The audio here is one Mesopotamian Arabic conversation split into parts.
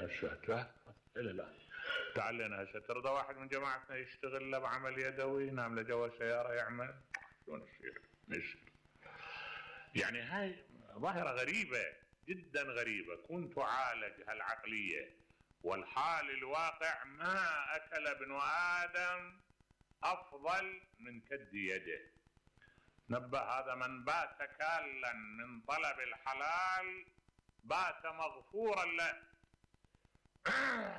هسه الى الان تعال لنا هسه ترضى واحد من جماعتنا يشتغل له بعمل يدوي، ينام له جوا السياره يعمل؟ شلون يصير؟ يعني هاي ظاهره غريبه جدا غريبه. كنت اعالج هالعقليه والحال الواقع ما اكل ابن ادم افضل من كد يده. نبه هذا من بات كالا من طلب الحلال بات مغفورا له.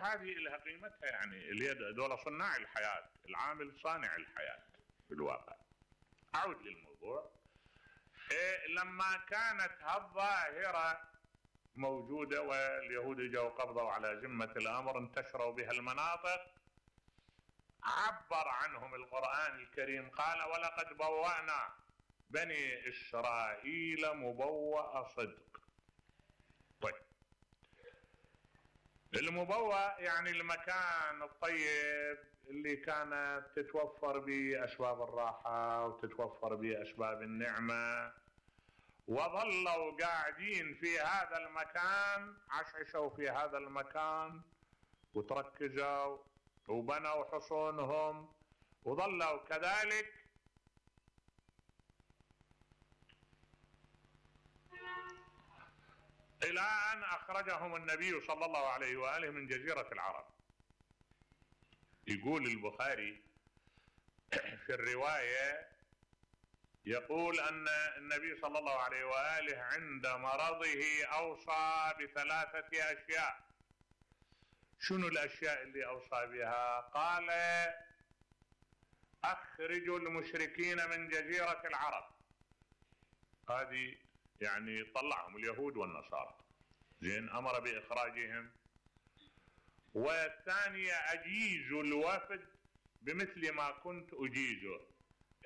هذه لها قيمتها، يعني اليد دول صناع الحياة، العامل صانع الحياة في الواقع. أعود للموضوع. لما كانت هالظاهرة موجودة واليهود جاءوا قبضوا على ذمة الأمر انتشروا بها المناطق، عبر عنهم القرآن الكريم قال ولقد بوأنا بني إسرائيل مبوأ صدق. طيب المبوأ يعني المكان الطيب اللي كانت تتوفر به أسباب الراحة وتتوفر به أسباب النعمة، وظلوا قاعدين في هذا المكان، عشعشوا في هذا المكان وتركزوا وبنوا حصونهم وظلوا كذلك إلى أن أخرجهم النبي صلى الله عليه وآله من جزيرة العرب. يقول البخاري في الرواية، يقول أن النبي صلى الله عليه وآله عند مرضه أوصى بثلاثة أشياء. شنو الأشياء اللي أوصى بها؟ قال أخرجوا المشركين من جزيرة العرب. هذه يعني طلعهم اليهود والنصارى، زين، أمر بإخراجهم. والثانية أجيزوا الوفد بمثل ما كنت أجيزه،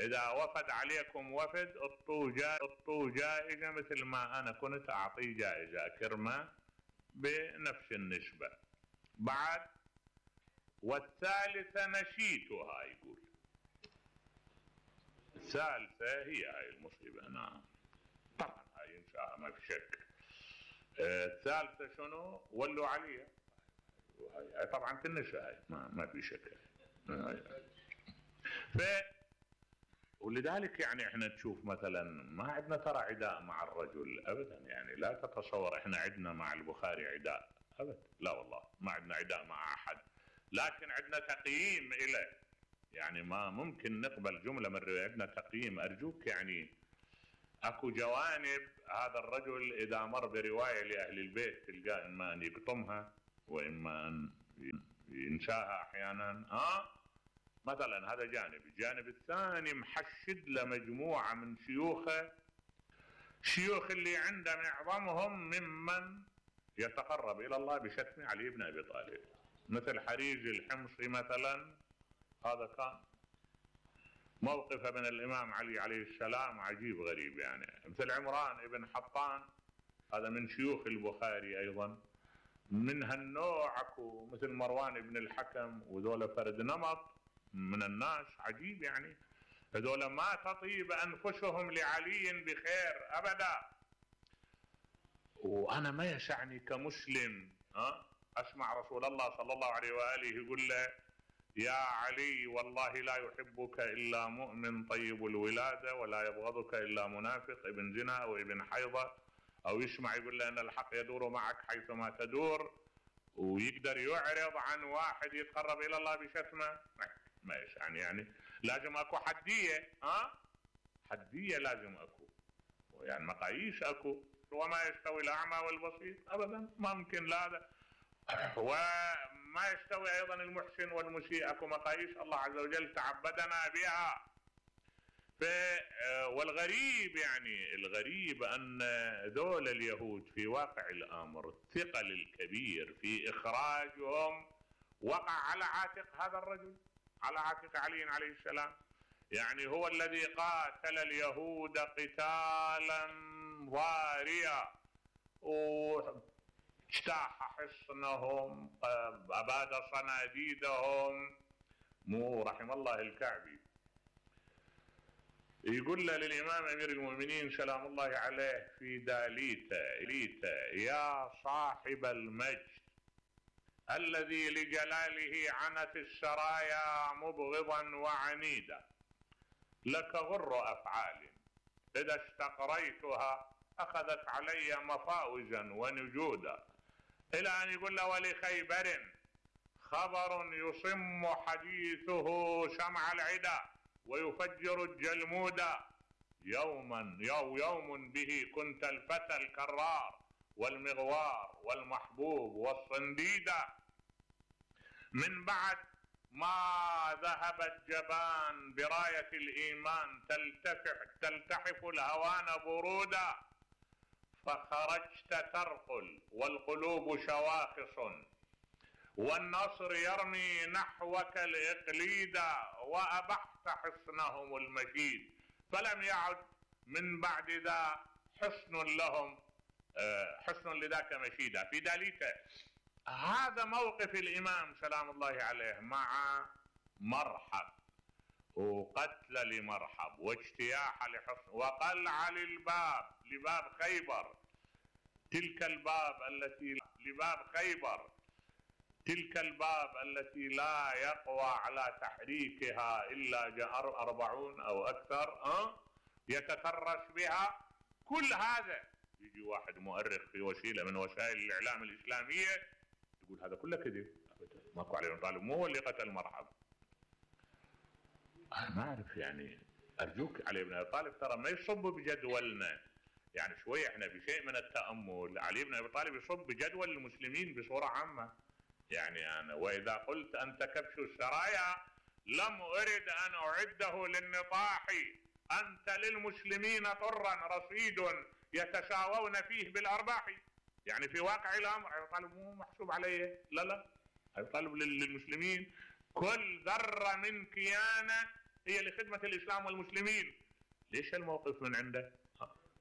إذا وفد عليكم وفد اعطوا جائزة مثل ما أنا كنت أعطي جائزة، كرمة بنفس النسبة. بعد والثالثة نسيتها. يقول الثالثة هي هاي المصيبة. نعم طبعا هاي انشاء ما في شك. الثالثة شنو؟ ولوا عليها. هاي طبعا تنسى، هاي ما في شك. ولذلك يعني احنا تشوف مثلا ما عندنا ترى عداء مع الرجل ابدا، يعني لا تتصور احنا عندنا مع البخاري عداء ابدا، لا والله ما عندنا عداء مع احد، لكن عندنا تقييم له. يعني ما ممكن نقبل جملة من الرواية، عندنا تقييم. ارجوك يعني اكو جوانب هذا الرجل اذا مر برواية لاهل البيت تلقاه اما ان يقطمها واما ان ينساها احيانا. مثلا هذا جانب. الجانب الثاني محشد لمجموعة من شيوخه، شيوخ اللي عنده معظمهم ممن يتقرب الى الله بشتم علي بن ابي طالب، مثل حريز الحمصي مثلا. هذا كان موقفه من الامام علي عليه السلام عجيب غريب، يعني مثل عمران ابن حطان هذا من شيوخ البخاري ايضا. من هالنوع اكو مثل مروان بن الحكم، وذولا فرد نمط من الناس عجيب، يعني هذول ما تطيب انفسهم لعلي بخير ابدا. وانا ما يسعني كمسلم اسمع رسول الله صلى الله عليه واله يقول له يا علي والله لا يحبك الا مؤمن طيب الولاده ولا يبغضك الا منافق ابن زنا او ابن حيضه، او يسمع يقول له ان الحق يدور معك حيثما تدور، ويقدر يعرض عن واحد يتقرب الى الله بشتمه. ما يعني لازم اكو حدية. حدية لازم اكو، يعني مقاييس اكو. وما يستوي الاعمى والبصير ابدا، ما ممكن. لا وما يستوي ايضا المحسن والمسيء، اكو مقاييس الله عز وجل تعبدنا بها. والغريب يعني الغريب ان ذول اليهود في واقع الامر الثقل الكبير في اخراجهم وقع على عاتق هذا الرجل، على عاتق علي عليه السلام. يعني هو الذي قاتل اليهود قتالا ضاريا، واجتاح حصنهم، أباد صناديدهم. مو رحم الله الكعبي يقول له للإمام أمير المؤمنين سلام الله عليه في داليتا يا صاحب المجد الذي لجلاله عنت السرايا مبغضا وعنيدا، لك غر أفعال إذا استقريتها أخذت علي مفاوزا ونجودا، إلى أن يقول له ولخيبر خبر يصم حديثه شمع العدا ويفجر الجلمودا، يوم به كنت الفتى الكرار والمغوار والمحبوب والصنديدا، من بعد ما ذهب الجبان براية الإيمان تلتحف الهوان برودا، فخرجت ترقل والقلوب شواخص والنصر يرمي نحوك الإقليدا، وأبحت حصنهم المجيد فلم يعد من بعد ذا حصن لذاك مشيدا. في ذلك هذا موقف الإمام سلام الله عليه مع مرحب، وقتل لمرحب واجتياح لحصن وقلع لباب خيبر، تلك الباب التي لا يقوى على تحريكها إلا 40 أو أكثر يتترس بها. كل هذا يجي واحد مؤرخ في وسيلة من وسائل الإعلام الإسلامية يقول هذا كله كذب، ماكو علي بن طالب مو هو اللي قتل مرحب. أنا ما أعرف، يعني أرجوك علي بن أبي طالب ترى ما يصب بجدولنا، يعني شوية احنا بشيء من التأمل. علي بن أبي طالب يصب بجدول المسلمين بصورة عامة، يعني أنا وإذا قلت أنت كبش السرايا لم أرد أن أعده للنطاح، أنت للمسلمين طرا رصيد يتساوون فيه بالأرباح. يعني في واقع الأمر أبي طالب مو محسوب عليه، لا أبي طالب للمسلمين كل ذرة من كيانه هي لخدمة الإسلام والمسلمين. ليش الموقف من عنده؟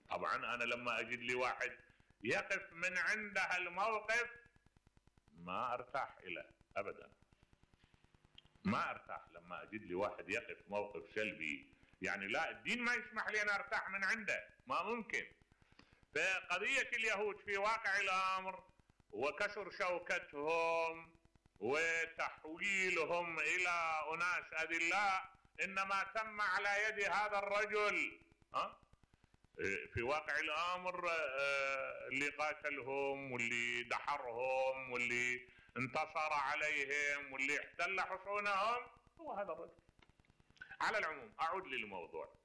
طبعا أنا لما أجد لي واحد يقف من عنده الموقف ما أرتاح إليه أبدا، ما أرتاح لما أجد لي واحد يقف موقف سلبي. يعني لا، الدين ما يسمح لي أن أرتاح من عنده، ما ممكن. فقضية اليهود في واقع الأمر وكسر شوكتهم وتحويلهم إلى أناس أذلاء إنما تم على يد هذا الرجل. في واقع الأمر اللي قاتلهم واللي دحرهم واللي انتصر عليهم واللي احتل حصونهم هو هذا الرجل. على العموم أعود للموضوع.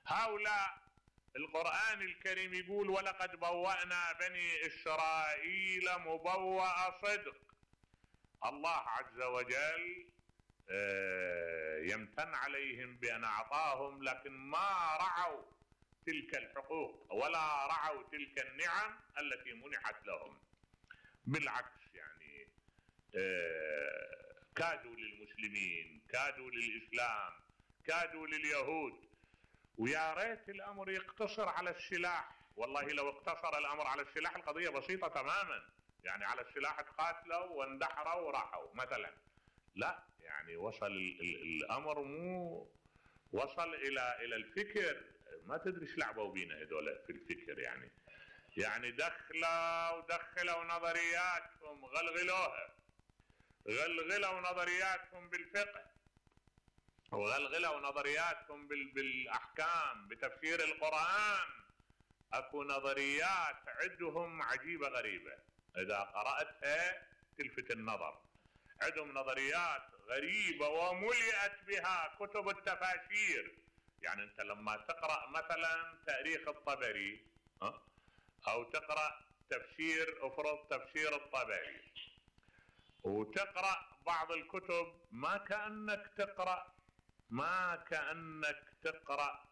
هؤلاء القرآن الكريم يقول ولقد بوأنا بني إسرائيل مبوأ صدق. الله عز وجل يمتن عليهم بأن أعطاهم، لكن ما رعوا تلك الحقوق ولا رعوا تلك النعم التي منحت لهم. بالعكس، يعني كادوا للمسلمين، كادوا للإسلام، كادوا لليهود. ويا ريت الأمر يقتصر على السلاح. والله لو اقتصر الأمر على السلاح القضية بسيطة تماما، يعني على السلاح تقاتلوا واندحروا وراحوا مثلا. لا، يعني وصل الأمر مو وصل إلى الفكر. ما تدري ايش لعبوا بينا هذول في الفكر. يعني دخلوا نظرياتهم، غلغلوا نظرياتهم بالفقه، وغلغلوا نظرياتهم بالأحكام، بتفسير القرآن. أكو نظريات عندهم عجيبة غريبة، إذا قرأتها تلفت النظر. عندهم نظريات غريبة وملئت بها كتب التفاسير. يعني أنت لما تقرأ مثلا تاريخ الطبري أو تقرأ افرض تفسير الطبري، وتقرأ بعض الكتب ما كأنك تقرأ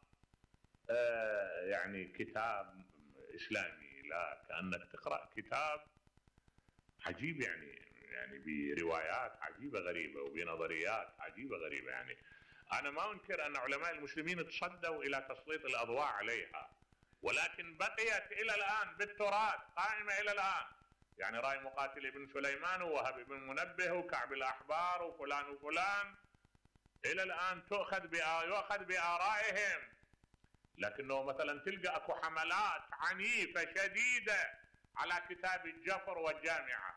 يعني كتاب إسلامي، لا، كأنك تقرأ كتاب عجيب، يعني بروايات عجيبة غريبة وبنظريات عجيبة غريبة. يعني أنا ما أنكر أن علماء المسلمين تصدوا إلى تسليط الأضواء عليها، ولكن بقيت إلى الآن بالتراث، قائمة إلى الآن. يعني رأي مقاتل ابن سليمان ووهب بن منبه وكعب الأحبار وفلان وفلان إلى الآن يؤخذ بآرائهم. لكنه مثلا تلقى أكو حملات عنيفة شديدة على كتاب الجفر والجامعة.